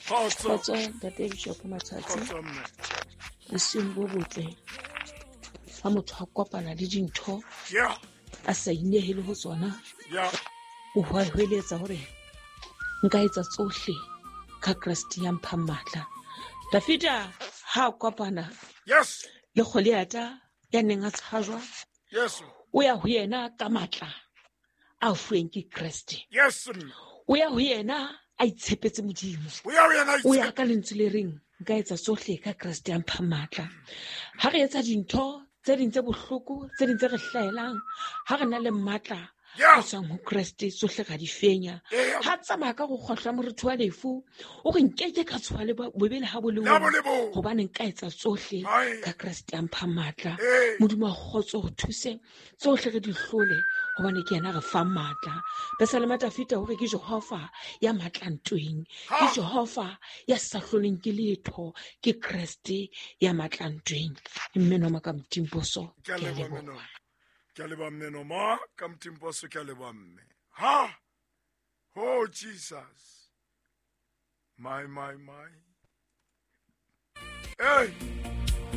Kgotso ntate Bishop Matsatsi. Bosiung bo botle. Ha motho a kopana le dintho a sa inehele ho tsona, o hweletsa hore nka etsa tsohle ka Kreste ya mphang matla. Dafida ha a kopana le Goliata ya neng a tshajwa, o ya ho yena ka matla a fuweng ke Kreste. O ya ho yena a itshepetse Modimo. O ya ka lentswe le reng nka etsa tsohle ka Kreste ya mphang matla. Ha re etsa dintho tse ding tse bohloko, tse ding tse re hlahelang, ha re na le matla a tswang ho Kreste, tsohle ra di fenya. Ha tsamaya ka go kgohla moretho wa lefu, o re nkeke ka tshoha le bobe le ha bo le bong, hobane nka etsa tsohle ka Kreste ya mphang matla. Modimo wa kgotso re thuse tsohle re di hlole, hobane ke yena re fang matla. Pesalema Dafita hore ke Jehova ya matla ntweng, ke Jehova ya sa hloleng ke letho, ke Kreste ya matla ntweng. Mme Noma ka Motimposo, ke a leboha. Ke a leboha mme Noma ka Motimposo, ke a leboha mme. Ha! Oh Jesus. My, my, my. Hey!